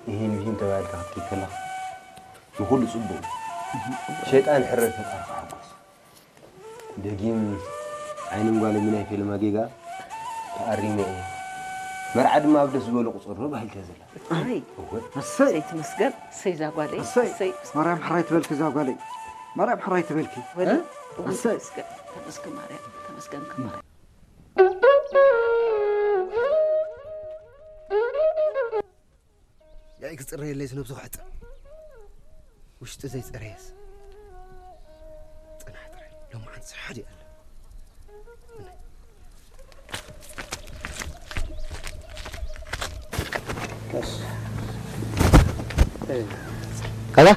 ይህን ብሂን ተባሂልካ ክትከይድ ከለኻ ንኹሉ ጽቡቕ እዩ። ሸይጣን ሕረድ ፈጣሪ ክሓጎስ። ደጊም ዓይንን ጓልን ብናይ ፊልማ ጌጋ ተኣሪመ እየ። መርዓ ድማ ኣብ ደስ ዝበሎ ቁጽር ዶ ባሂልካ ዘላ። ኣይ፣ እወ። እሰይ። እሰይ ትመስገን፣ እሰይ እዛ ጓለይ፣ እሰይ። እሰይ። ማርያም ሕራይ ትበልኪ እዛ ጓለይ። ማርያም ሕራይ ትበልኪ። ወደ እ? እሰይ። ተመስገን፣ ተመስገን ማርያም፣ ተመስገን ማርያም። ያኢ ክጽረየለይስ ነብሱ ክሕጽብ። ውሽጢ ዘይጸረየስ። ጽናሕ ጥራይ። ሎማዓንቲ ስራሕ ድዩ ኣለ? እሺ። እ። ካዛ?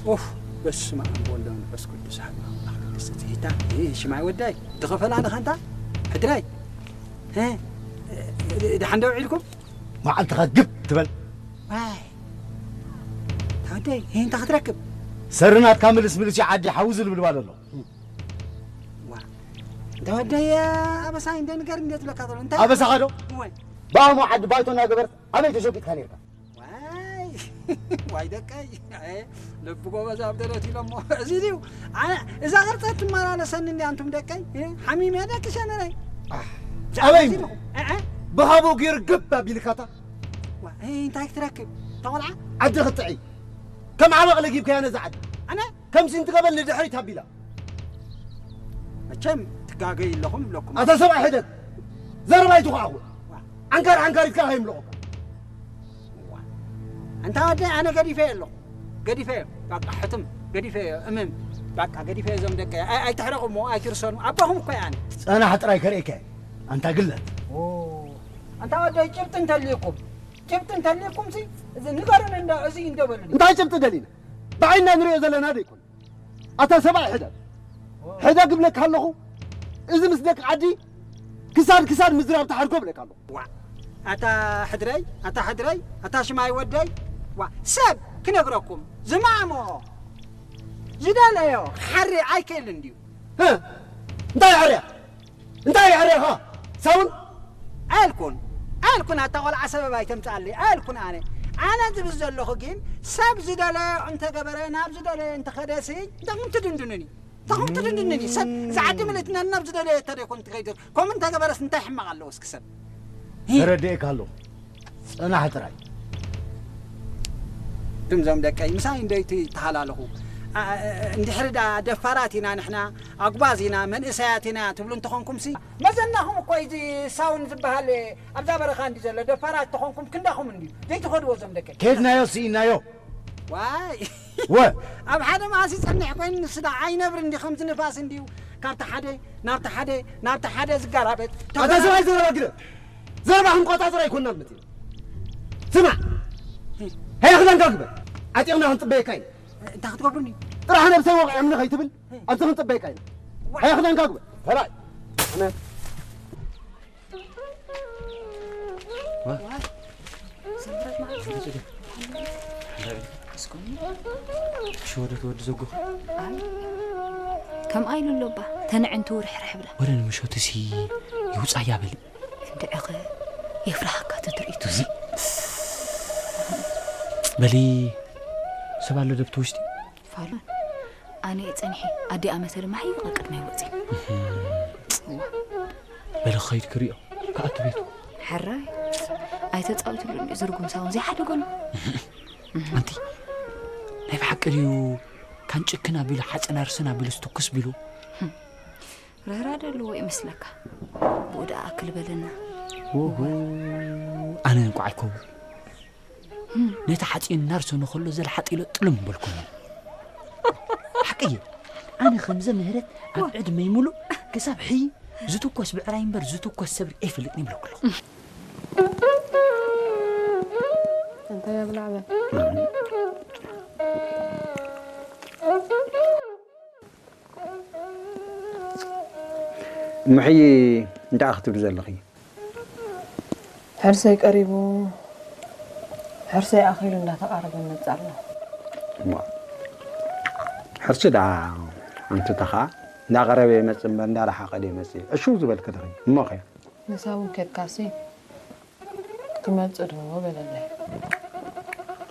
ኡፍ፣ በስመ ኣብ ወወልድ ወመንፈስ ቅዱስ ኣሐዱ ኣምላኽ ቅድስቲ ትሕታ። እ፣ ሽማይ ወዳይ፣ ድኸፈላ ንኻንታ? ሕድራይ? እ፣ እ፣ ደሓን ዶ ውዒልኩም? መዓልትኻ ግብ ትበል። ዋይ። ተወደይ፣ እንታይ ክትረክብ? ሰሪ ናትካ ምልስ ምልስ እዩ ዓዲ ሓዊ ዝልብልባል ኣሎ። ዋ። እንተ ወደይ፣ ኣበሳይ እንደ ንገር እንደ ትብለካ ዘሎ። እንታይ? ኣበሳኻ ዶ? እወ። ብኣሞ ዓዲ ባይቶ እናገበርት ኣበይ ተሸቂጥካ ነርካ? ዋይ። ዋይ ደቀይ። ኣየ፣ ልቢ ጎበዝ ኣብ ደረት ኢሎሞ። እዚ ድዩ? ኣነ፣ እዛ ቅርጸት ትመላለሰኒ እንዲ ኣንቱም ደቀይ። እ፣ ሓሚም እየ ደቂ ሸነነይ። ኣሕ፣ ኣበይ እሞ? እ፣ እ። ብሃቦ ገይሩ ግብ ኣቢልካታ። ዋ፣ እ፣ እንታይ ክትረክብ? ተቆልዓ? ዓዲ ክትጥዒ። ከም ዓበቕ ለጊብካያ ነዛ ዓዲ። ኣነ? ከምሲ እንትገበል ንድሕሪት ኣቢላ። መቸም ትጋገዩ ኣለኹም ይብለኩም። ኣታ ሰብኣይ ሕደግ። ዘረባ ኣይትኹዓኹ። ዋ። ዓንካር ዓንካሪትካ ከይምልኹካ። ዋ። ኣንታ ወደይ ኣነ ገዲፈ ኣለኹ። ገዲፈ፣ በቃ ሕትም፣ ገዲፈ፣ እምም። በቃ ገዲፈ እዞም ደቀይ። ኣይ-፣ ኣይትሕረቑ እሞ፣ ኣይትርሰኑ። ኣቦኹም እኮ እየ ኣነ። ጸናሕ ጥራይ ከርእየካ እየ። ኣንታ ግለት። ኦ። ኣንታ ወደይ ጭብጢ እንተልዩኩም፣ ጭብጢ እንተልዩኩም ሲ፣ እዚ ንገሩኒ እንዶ፣ እዚ እንዶ በሉኒ። እንታይ ጭብጢ ደሊና? ብዓይንና ንሪኦ ዘለና ዶ ይኮን? ኣታ ሰብኣይ ሕደግ። ሕደግ እብለካ ኣለኹ። እዚ ምስ ደቂ ዓዲ ክሳድ ክሳድ ምዝራብ ተሓድጎ እብለካ ኣለኹ። ዋ፣ ኣታ ሕድረይ፣ ኣታ ሕድረይ፣ ኣታ ሽማይ ወደይ። ዋ፣ ሰብ ክነግረኩም ዝማሞ ዝደለዮ ክሓሪ ኣይክእልን ድዩ? ህ፣ እንታይ ይሕርያ? እንታይ ይሕርያኻ? ሳውን? ኣልኩን፣ ኣልኩን ኣታ ቆልዓ ሰበብ ኣይተምጽኣለይ፣ ኣልኩን ኣነ። ኣነ ዝብል ዘለኹ ግን ሰብ ዝደለዮ እንተገበረ፣ ናብ ዝደለዮ እንተኸደሲ፣ እንታይ ትድንድኑኒ? እንታይ ትድንድኑኒ? ሰብ፣ እዛ ዓዲ ምልእትና ናብ ዝደለዮ እተደይኮን ትኸይድ። ከምኡ እንተገበረስ እንታይ ሕማቕ ኣለዎ እስኪ ሰብ? ሂ። ተረዲኤካ ኣለኹ። ጽናሕ ጥራይ። እቶም ዞም ደቀይ ምሳይ እንደይቲ ተሃላለኹ። ኣ-፣ ኣ-፣ እንድሕሪ ደኣ ደፋራት ኢና ንሕና፣ ኣጉባዝ ኢና፣ መንእሰያት ኢና ትብሉ እንተኾንኩምሲ፣ መዘናኹም እኮ እዚ ሳውን ዝበሃል ኣብዛ በረኻ እንዲ ዘሎ፣ ደፋራት ተኾንኩም ክንዳኹም እንድዩ ዘይትኸድዎ ዞም ደቀይ። ከድናዮ ስኢናዮ። ዋይ። ወ። ኣብ ሓደ መዓስ ይጸንሕ ኮይኑ ንሱ ደኣ ኣይነብር እንዲ ከምዚ ንፋስ እንድዩ ካብቲ ሓደ ናብቲ ሓደ ናብቲ ሓደ ዝጋላበጥ። ኣታ ሰብኣይ ዘረባ ግደ። ዘረባ ክንቆጻጸር ኣይኮንናን መጺና። ስማዕ። ሃያ ክዳንካ ግበር። ዓጢቕና ክንጽበየካ ኢና። እንታይ ክትገብሩኒ? ጥራሕ ነብሰይ ወቒዖምኒ ከይትብል፣ ኣብዚ ክንጽበየካ ኢና። ሃያ ክዳንካ ግበር። ሰብኣይ። ኣነ። ዋ። ሽወደት ወዲ ዘጎ። ኣይ፣ ከምኣ ኢሉ ኣሎ እባ፣ ተንዕንቱ ርሕርሕ ብላ። ወረ ንምሸቱሲ ይውጻያ በሊ። እንድዕኸ የፍርሃካ እቲ ትርኢቱሲ። በሊ፣ ሰብ ኣሎ ዶ ኣብቲ ውሽጢ? ፋሉን፣ ኣነ እየ ጸኒሐ። ኣዲኣ መሰ ድማ ሓይቕ ቅድመይ ወጺ። እዋ። በሊ ክኸይድ ክሪኦ፣ ክኣቱ ቤቱ። ሕራይ፣ ኣይተጻወትሉን እዩ፣ ዝርጉም ሳውን ዘይሓደገሉ። ኣንቲ፣ ናይ ብሓቂ ድዩ ካን ጭክን ኣቢሉ፣ ሓጽን ኣርስን ኣቢሉ፣ ዝትኩስ ቢሉ? ርህራሄ ኣለዎ ይመስለካ? ብኡ ደኣ ኣክል በለና። ኦሆ፣ ኣነ እንኳዕ ኣይከውን። ነቲ ሓጺን እናርሰኖ ከሎ ዘለ ሓጢሎ ጥልም በልኩሞ። ሓቂ እየ። ኣነ ከምዘ ምህረት ኣብ ዕድመይ ሙሉእ ክሳብ ሕይ ዝትኮስ ብዕራይ እምበር ዝትኮስ ሰብሪ ኣይፈልጥን ይብለኩ ኣለኹ። እንታይ ኣብላዕ በል። እምሕይ እንታይ ክትብሊ ዘለኺ? ሕርሰይ ቀሪቡ፣ ሕርሰይ ኣኺሉ እንዳተቓረበ ይመጽእ ኣሎ። እሞ፣ ሕርሲ ደኣ ኣንቱታ ኸኣ እንዳቐረበ ይመጽእ እምበር እንዳረሓቐ ዶ ይመጽእ? ዕሽው ዝበልኪ ዲኺ? እሞ ኸ? ንሳ እውን ኬድካሲ? ትመጽእ ዶ በለለይ።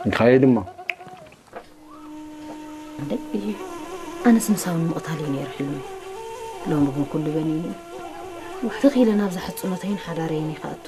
እንካየ ድማ እንደ ኣነስ ምሳውን ምቕታል እዩ ነይሩ ሕልሚ። ሎሚ ግን ኩሉ በኒኒ። ትኺለ ናብዛ ሕፅኖተይን ሓዳረይን ይኸኣቱ።